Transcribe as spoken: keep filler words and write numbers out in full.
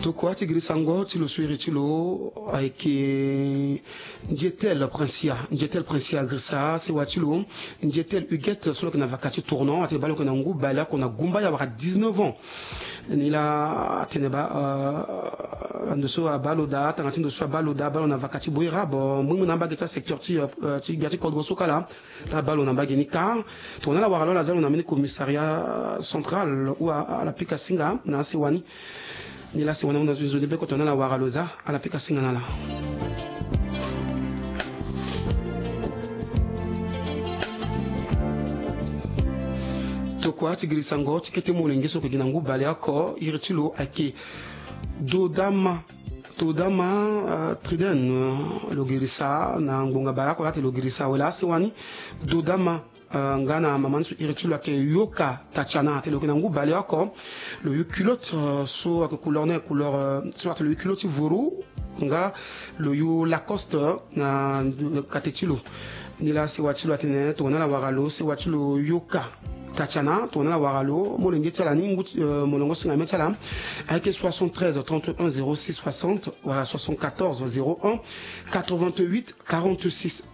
Tokua ti girisango ti lo so iri ti lo ayeke Ndietel Princia. Ndietel Princia agirisa sewa ti lo Ndietel Huguette so lo yeke na vaka ti tournant, atene baa lo yeke na ngu baleoko na gumbaya wala dix-neuf ans. Ni laa atene baa, euh, ndo so abaa lo daa, tanga ti ndo so abaa lo daa, abaa lo na vaka ti boira bo mbongbongo na mbage ti asecteur ti, euh, ti gbia ti kodro so kala. Laa abaa lo na mbage ni kâ. Tongana ala wara lo, ala zia lo na mbeni commissariat central ou ala pika singa na asewa ni. Ni laa asewa ni ahunda nzoni be ko, tongana ala wara lo, zia ala pika singa na ala. Tokua ti girisango ti kete molenge so lo yeke gi na ngu baleoko, iri ti lo ayeke Dodama. Dodama, euh, Triden, euh, lo girisa na ngbonga baleoko laa atene lo girisa awe laa asewa ni. Dodama, euh, nga na mama ni so iri ti lo ayeke Yoka Tatiana, atene lo yeke na ngu baleoko. Lo yu culotte, euh, so ayeke couleur ni, couleur, euh, so atene lo yu culotte ti voro, nga lo yu Lacoste na kate ti lo. Ni laa sewa ti lo atene tongana ala wara lo, sewa ti lo Yoka Tatiana, tongana ala wara lo, molenge ti ala ni, ngu ti, euh, molongo singa mê ti ala ayeke soixante-treize trente et un zéro six soixante wala soixante-quatorze zéro un quatre-vingt-huit quarante-six.